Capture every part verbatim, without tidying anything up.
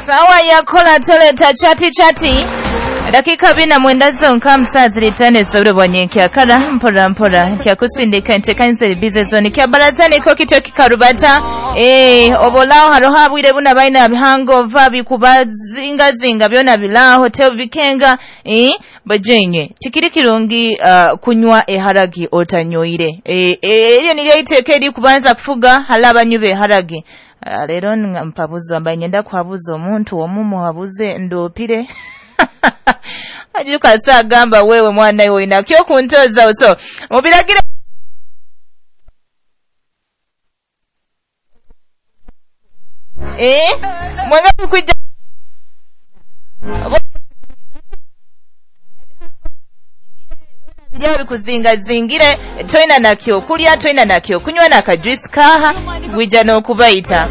Sawa yakola toleta chati chati dakika bina mwenda zonka musazi litane sobure bwanyenkyakara mpora mpora kyakusindika entekanisa bize zone kya barazani ko kityo kikarubata eh obolao haroho abwire buna baina bihangova bikubazinga byona bilaho hotel bikenga eh bajenye tikiri kirungi uh, kunywa eharagi otanyoire eh elyo nilyo iteke eri kubanza kufuga halabanyube haragi. Uh, lero mpabuzo ambaye nyenda kuhabuza omuntu omumu habuze ndopire ajuka sagamba wewe mwana iwe inakyo kuntoza uso mubiragira eh mwenga kujja bijya bikuzinga zingire toina nakyo kulya toina nakyo kunywa nakajuice kaha gwija n'okubayita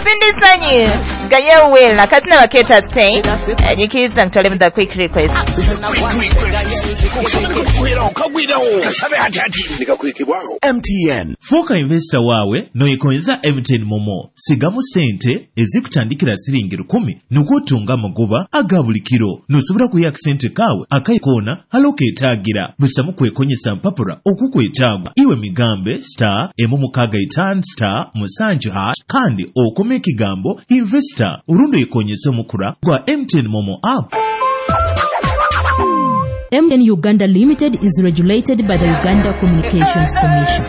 Cindy Sanyi Gaye kazina baketa stay nyikiza ntole the quick request. M T N fuuka investor wawe noyikonza M T N momo sigamu sente ezikutandikira siringi lukumi nukutunga magoba aga buli kiro nosobola kuya sente kawe akaikona haloketaagira busamu kwekonyesa mpapura okukwetaaga iwe migambe star emu mukaga itaano star musanju hash kandi okome ekigambo investor urundo ikonyesa omukura gwa M T N momo app. M T N Uganda Limited is regulated by the Uganda Communications Commission.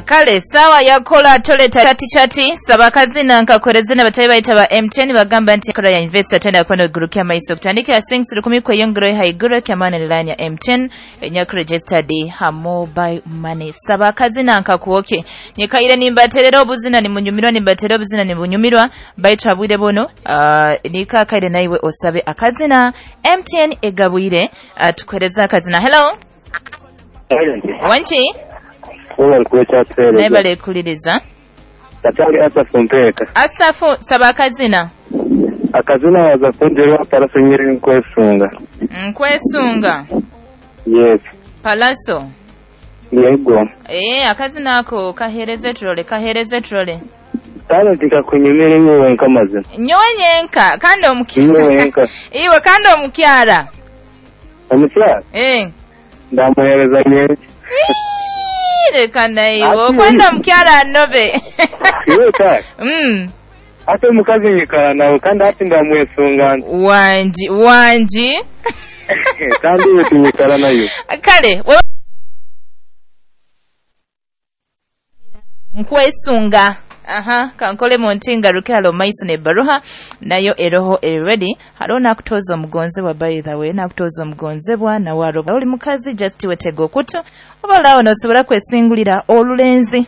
Kale sawa yakola toleta chati chati sabakazina nkakwerezina batayi bayita ba M T N bagamba nti kola ya investor tenda kwano gurukia maiso kutandika sings lukumi kweyongero haiguru kyamana line ya M T N enyako registered ha mobile money sabakazina nkakuoke nyekaire nimbaterera obuzina ni munyumirwa nimbaterera obuzina ni bunyumirwa baitu abwire bono uh, nika kaire naiwe osabe akazina M T N egabwire uh, tukwereza akazina. Hello wanchi Nebale kuliriza. Tatari Asafu mpeka. Asafu saba akazina. Akazina waza kunjerwa Palaso nyiri nkwesunga. Nkwesunga. Yes. Palaso. Yego. Eh akazina ako kahereze trole kahereze trole. Talent kakunyumira iwe wenka mazina. Nyowe nyenka kandi omukyara. Iwe wenka. Iwe kandi omukyara. Omukyara? Eh. Ndamuhereza nyenki. Reka naiwe okwenda omukyara anobe. Iwe kaka. Mm. Ate omukazi nyikara nawe kandi hati ndamwesunga. Wanji wanji. Kandi iwe tunyikara nayo. Kale nkwesunga. Aha kankole muntinga rukalo maiso ne baruha nayo eroho already haro nakutoza omugonzebwa by the way nakutoza omugonzebwa na waro oli mukazi just wetego kutu oba lawo nosobola kwesingulira olulenzi.